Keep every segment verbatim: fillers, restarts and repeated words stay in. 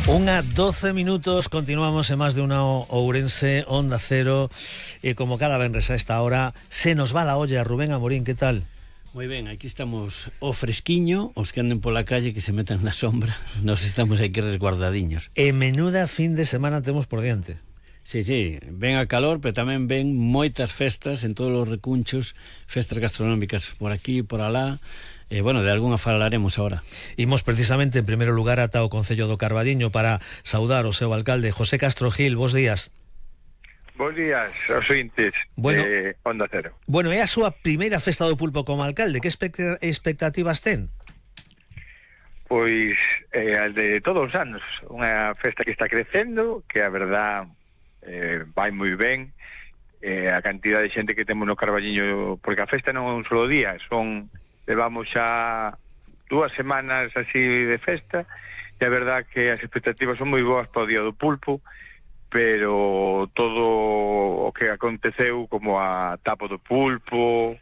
Unha doce minutos, continuamos en Más de Una Ourense, Onda Cero, e como cada venres a esta hora se nos va la olla. Rubén Amorín, que tal? Moi ben, aquí estamos o fresquiño, os que anden pola calle que se metan na sombra, nos estamos aquí resguardadiños. E menuda fin de semana temos por diante. Sí, sí, ven a calor, pero tamén ven moitas festas en todos os recunchos, festas gastronómicas por aquí, por alá. E, eh, bueno, de algunha falaremos agora. Imos precisamente en primeiro lugar ata o Concello do Carballiño para saudar o seu alcalde, José Castro Gil. Bos días. Bos días, aos ointes bueno, de Onda Cero. Bueno, é a súa primeira festa do pulpo como alcalde. Que expect- expectativas ten? Pois, eh, al de todos os anos, unha festa que está crecendo, que a verdad eh, vai moi ben, eh, a cantidad de xente que temos no Carballiño, porque a festa non é un solo día, son, levamos xa dúas semanas así de festa, e a verdad que as expectativas son moi boas para o día do pulpo, pero todo o que aconteceu, como a tapa do pulpo,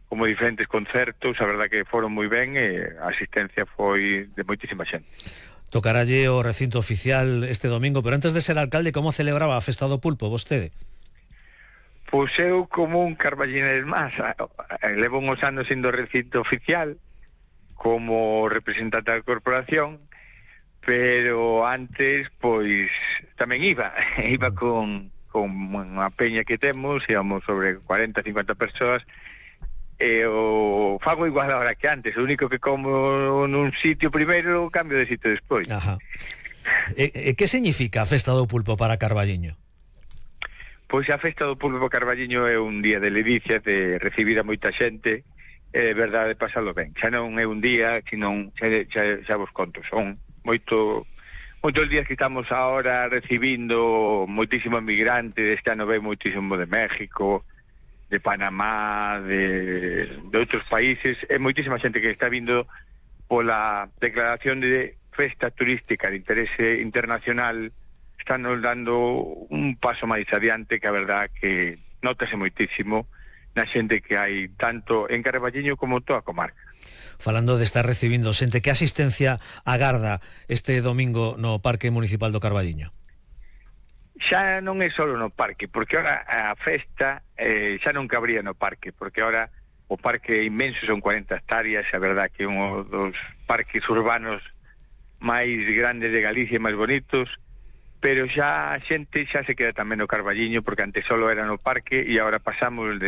como diferentes concertos, a verdad que foron moi ben e a asistencia foi de moitísima xente. Tocaralle o recinto oficial este domingo, pero antes de ser alcalde, como celebraba a festa do pulpo vostede? Pois eu, como un carballiner máis, levo uns anos sendo recinto oficial como representante da corporación, pero antes, pois, tamén iba, iba con, con unha peña que temos, íbamos sobre cuarenta, cincuenta persoas, e o fago igual ahora que antes, o único que como nun sitio primeiro, cambio de sitio despois. Ajá. E, e que significa a festa do pulpo para Carballiño? Pois a festa do pulpo Carballiño é un día de ledicia, de recibir a moita xente, e de verdade pasalo ben. Xa non é un día, senón xa, xa, xa vos conto, son moito moitos días que estamos ahora recibindo moitísimo migrante. Este ano ve moitísimo de México, de Panamá, de, de outros países, e moitísima xente que está vindo pola declaración de festa turística de interese internacional. Están nos dando un paso máis adiante, que a verdad que notase moitísimo na xente que hai tanto en Carballiño como toda a comarca. Falando de estar recibindo xente, que asistencia agarda este domingo no Parque Municipal do Carballiño? Xa non é só no parque, porque ahora a festa eh, xa non cabría no parque, porque ahora o parque é inmenso, son cuarenta hectáreas, a verdad que é un dos parques urbanos máis grandes de Galicia e máis bonitos, pero xa a xente xa se queda tamén no Carballiño, porque antes solo era no parque e agora pasamos de